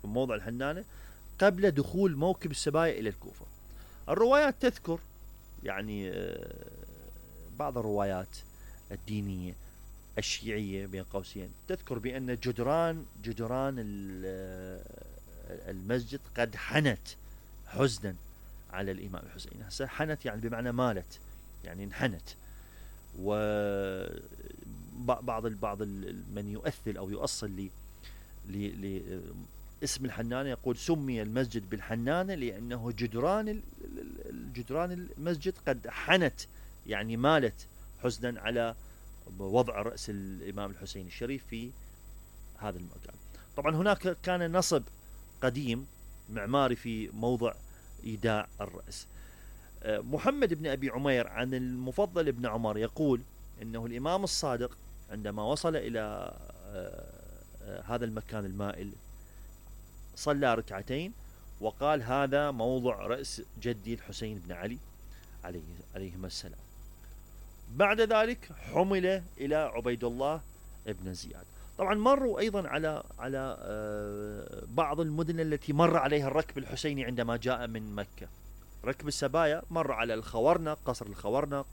بموضع الحنانة قبل دخول موكب السبايا إلى الكوفة. الروايات تذكر يعني بعض الروايات الدينية الشيعية بين قوسين تذكر بأن جدران المسجد قد حنت حزنا على الإمام الحسين. هسه حنت يعني بمعنى مالت، يعني انحنت. وبعض من يؤثل أو يؤصل اسم الحنانة يقول سمي المسجد بالحنانة لأنه جدران المسجد قد حنت، يعني مالت حزنا على وضع رأس الإمام الحسين الشريف في هذا المكان. طبعا هناك كان نصب قديم معماري في موضع إيداع الرأس. محمد بن أبي عمير عن المفضل بن عمر يقول إنه الإمام الصادق عندما وصل إلى هذا المكان المائل صلى ركعتين وقال هذا موضع رأس جدي الحسين بن علي عليهما السلام. بعد ذلك حمل إلى عبيد الله بن زياد. طبعا مروا أيضا على بعض المدن التي مر عليها الركب الحسيني عندما جاء من مكة. ركب السبايا مر على الخورنق، قصر الخورنق،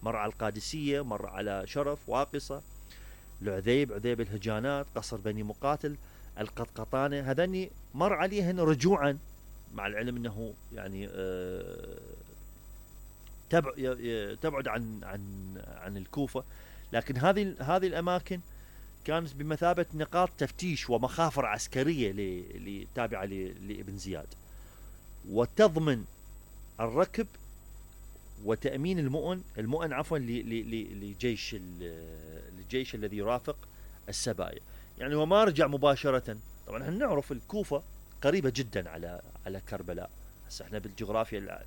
مر على القادسية، مر على شرف، واقصة، عذيب الهجانات، قصر بني مقاتل، القطقطانة. هذني مر عليهن رجوعا، مع العلم أنه يعني تبعد عن الكوفة، لكن هذه الأماكن كانت بمثابة نقاط تفتيش ومخافر عسكرية تابعة لابن زياد، وتضمن الركب وتأمين المؤن عفوا لجيش الذي يرافق السبايا. يعني هو ما رجع مباشرة. طبعا احنا نعرف الكوفة قريبة جدا على كربلاء. هسه احنا بالجغرافيا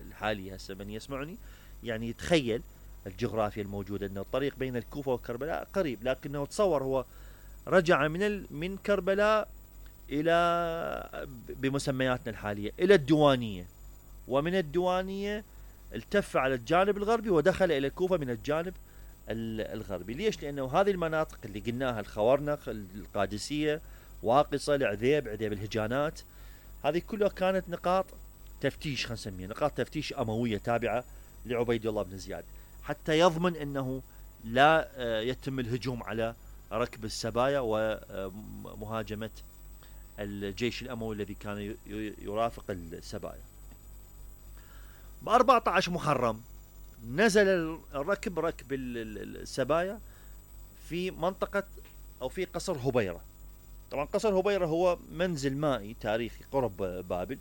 الحالية، هسه من يسمعني يعني يتخيل الجغرافيا الموجودة انه الطريق بين الكوفة وكربلاء قريب، لكنه تصور هو رجع من كربلاء الى بمسمياتنا الحالية الى الديوانية، ومن الديوانية التف على الجانب الغربي ودخل الى الكوفة من الجانب الغربي. ليش؟ لانه هذه المناطق اللي قلناها الخورنق، القادسية، واقصة، عذيب الهجانات، هذه كلها كانت نقاط تفتيش، خلينا نسميها نقاط تفتيش أموية تابعة لعبيد الله بن زياد، حتى يضمن أنه لا يتم الهجوم على ركب السبايا ومهاجمة الجيش الأموي الذي كان يرافق السبايا. ب14 محرم نزل ركب السبايا في منطقة أو في قصر هبيرة. طبعا قصر هبيرة هو منزل مائي تاريخي قرب بابل،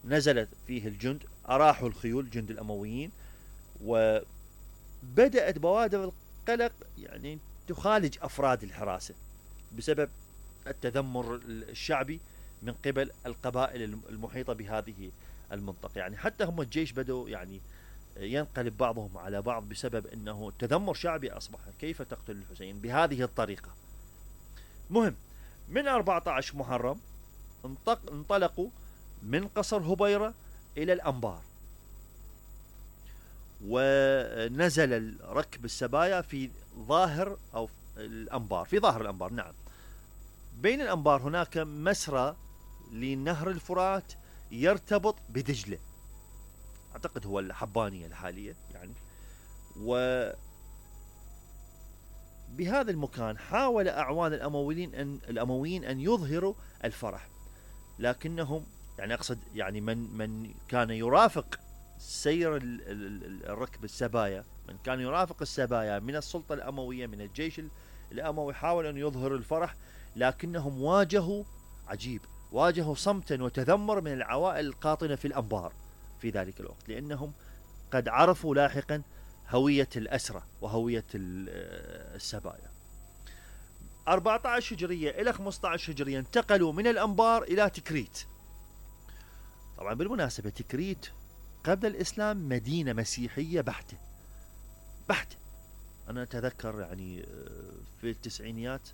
نزلت فيه الجند، أراحوا الخيول جند الأمويين، وبدأت بوادر القلق يعني تخالج أفراد الحراسة بسبب التذمر الشعبي من قبل القبائل المحيطة بهذه المنطقة. يعني حتى هم الجيش بدأوا يعني ينقلب بعضهم على بعض بسبب أنه تذمر شعبي أصبح، كيف تقتل الحسين بهذه الطريقة. مهم، من 14 محرم انطلقوا من قصر هبيرة إلى الأنبار، ونزل ركب السبايا في ظاهر الأنبار. نعم، بين الأنبار هناك مسرى لنهر الفرات يرتبط بدجلة، أعتقد هو الحبانية الحالية يعني. بهذا المكان حاول أعوان الأمويين أن يظهروا الفرح، لكنهم يعني أقصد يعني من كان يرافق سير الركب السبايا، من كان يرافق السبايا من السلطة الأموية من الجيش الأموي، حاول أن يظهر الفرح، لكنهم واجهوا صمتا وتذمر من العوائل القاطنة في الأنبار في ذلك الوقت، لأنهم قد عرفوا لاحقا هوية الأسرة وهوية السبايا. 14 هجرية إلى 15 هجرية انتقلوا من الأنبار إلى تكريت. طبعا بالمناسبة تكريت قبل الإسلام مدينة مسيحية بحتة. أنا أتذكر يعني في التسعينيات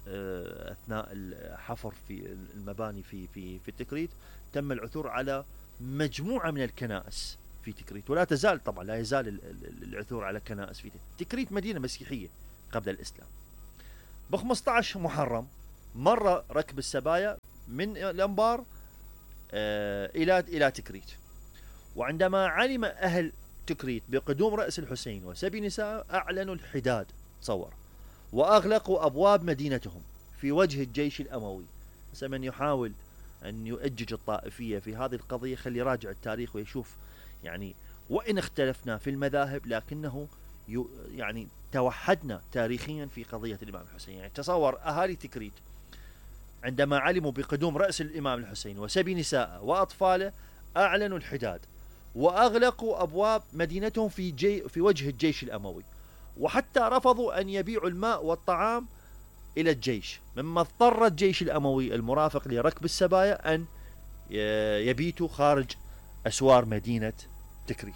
أثناء الحفر في المباني في تكريت تم العثور على مجموعة من الكنائس في تكريت، ولا تزال طبعا لا يزال العثور على كنائس في تكريت. مدينة مسيحية قبل الإسلام. ب15 محرم مر ركب السبايا من الأنبار إلى تكريت. وعندما علم أهل تكريت بقدوم رأس الحسين وسبي نساء أعلنوا الحداد، تصور، وأغلقوا أبواب مدينتهم في وجه الجيش الأموي. من يحاول أن يؤجج الطائفية في هذه القضية خلي يراجع التاريخ ويشوف، يعني وإن اختلفنا في المذاهب لكنه يعني توحدنا تاريخيا في قضية الإمام الحسين. يعني تصور أهالي تكريت عندما علموا بقدوم رأس الإمام الحسين وسبي نساءه وأطفاله أعلنوا الحداد وأغلقوا أبواب مدينتهم في وجه الجيش الأموي، وحتى رفضوا أن يبيعوا الماء والطعام إلى الجيش، مما اضطر الجيش الأموي المرافق لركب السبايا أن يبيتوا خارج أسوار مدينة تكريت.